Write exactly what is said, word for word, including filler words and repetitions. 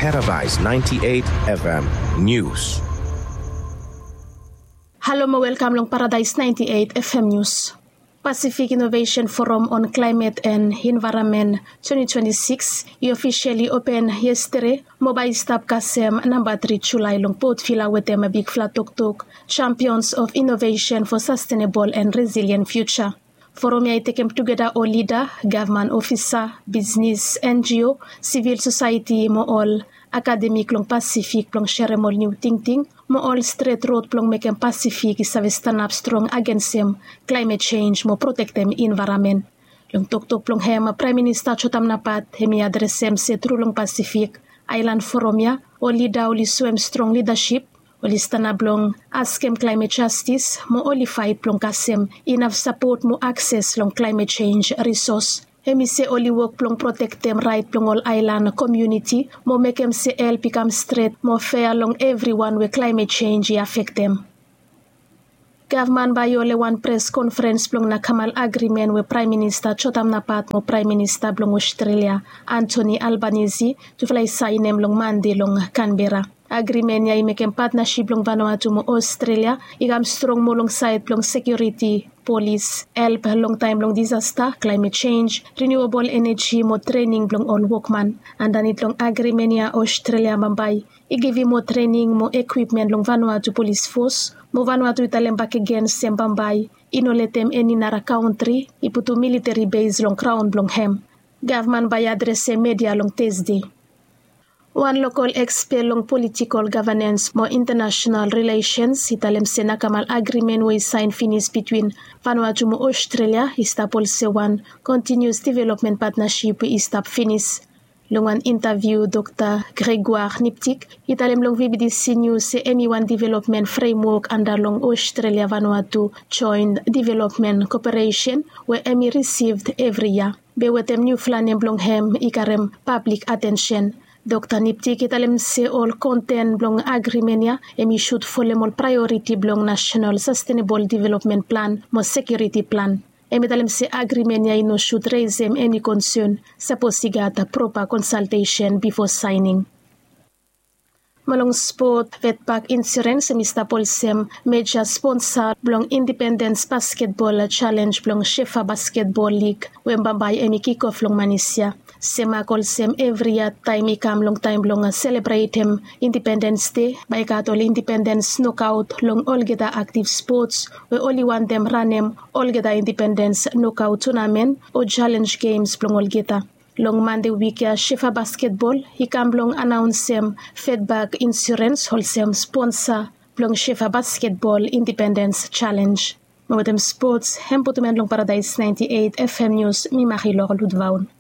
Paradise ninety-eight F M News. Halo mo welkam long Paradise ninety-eight F M News. Pacific Innovation Forum on Climate and Environment twenty twenty-six i officially open yesterday mo bae i stap kasem namba tri Julae long Port Vila wetem bigfala toktok Champions of Innovation for Sustainable and Resilient Future. Forum ya i tekem tugeta ol lida, gavman ofisa, bisnis, N G O, sivil sosaeti mo ol akademik long Pasifik blong serem ol niu tingting mo ol stret rod blong mekem Pasifik i save stanap strong agensem klaemet jenj mo protektem envaeramen. Long toktok blong hem, Praem Minista Jotam Napat hem i adresem se tru long Pasifik Aelan Forum ya ol lida oli soem strong lidasip, oli stanap blong askem klaemet jastis mo oli faet blong kasem inaf sapot mo akses long klaemet jenj risos. Hem i se oli wok blong protektem raet blong ol aelan komuniti mo mekem se help i kam stret mo fea long evriwan we klaemet jenj i afektem. Gavman bae i hole wan pres konferens blong nakamal agrimen we Praem Minista Jotam Napat mo Praem Minista blong Ostrelia Anthony Albanese tufala i saenem long Mande long Kanbera. Agrimen ya i mekem patnasip blong Vanuatu mo Ostrelia i kam strong moa long saed blong sekiuriti, polis, help long taem blong disasta, klaemet jenj, riniuabol eneji mo trening blong ol wokman. Andanit long agrimen ya Ostrelia bambae i givim moa trening mo ekwipmen long Vanuatu Polis Fos mo Vanuatu i talem bakegen se bambae i no letem eni nara kantri i putum militeri bes long graon blong hem. Gavman bae i adresem media long Tesde. Wan lokol ekspet long politikol gavanens mo intanasenal rilesens i talem se nakamal agrimen we i saen finis bitwin Vanuatu mo Ostrelia i stap olsem wan kontinius developmen patnasip we i stap finis. Long wan intaviu Dokta Gregoire Niptik i talem long V B D C News se hem i wan developmen fremwok anda long Ostrelia Vanuatu Joen Developmen Koperesen we hem i risivd evri yia. Be wetem niufala nem blong hem i karem pablik atensen. Dokta Niptik i talem se ol konten blong agrimen ya hem i sud folem ol praeoriti blong nasenal sastenebol developmen plan mo sekiuriti plan. Hem i talem se agrimen ya i no sud resem eni konsen sapos i gat propa konsaltesen bifo saening. Mo long spot, Vetpak Insurens hem i stap olsem meja sponsa blong Indipendens Basketbol Jalenj blong Shefa Basketbol Lig we bambae hem i kikof long Manis ya. Semak olsem evri yia taem i kam long taem blong selebretem Indipendens Dei bae i gat ol indipendens nokaot long olgeta aktiv spots we oli wantem ranem olgeta indipendens nokaot tunamen o jalenj gems blong olgeta. Long Mande wik ya Shefa Basketbol i kam blong anaonsem Vetpak Insurens olsem sponsa blong Shefa Basketbol Indipendens Jalenj. Mo wetem spots hem putum en long Paradaes naenti eit F M Nius, mi Marilor Ludvaun.